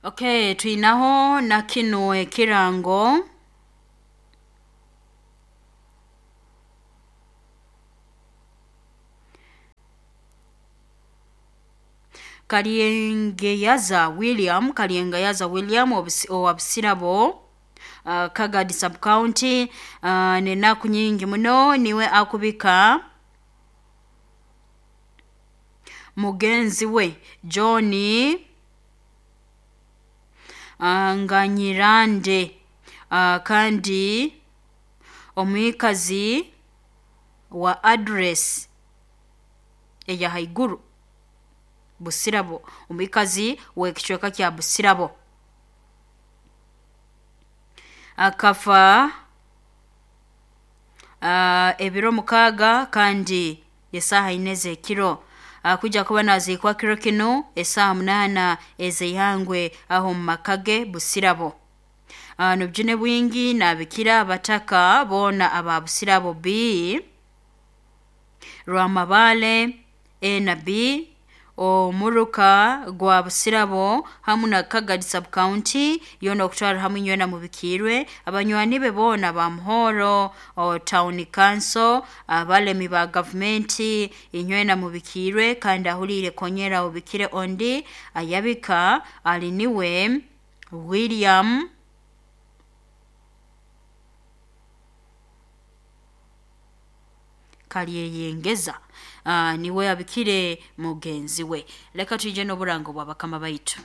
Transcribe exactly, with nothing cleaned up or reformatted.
Okay, twinaho na kino ekirango Kalyengeyaza William Kalyengeyaza William owa Busirabo uh, Kagadi sub county uh, nenaku nyingi muno niwe akubika mugenzi we John uh, Nganyirande uh, kandi omwikazi wa address eya haiguru Busirabo, omwikazi w'ekicweka kya Busirabo akafa uh, ebiro mukaaga kandi esaaha ine ez'ekiro uh, kuja kuba naziikwa kiro kinu esaaha munaana ez'eihangwe aho mu maka ge Busirabo. Uh, nobujune bwingi nabikira abataka boona aba Busirabo B Rwamabale A na B omuruka gwa Busirabo hamu na Kagadi sub county yona okutwara hamwe nywena mubikirwe abanywani be boona ba Muhoro o town council abalemi ba gavumenti inywena mubikirwe kandi ahuliire konyera obikire ondi ayabika ali niwe William Kalyeyengeza uh, niwe abikire mugenzi we. Leka tuje n'oburango bwa bakama baitu.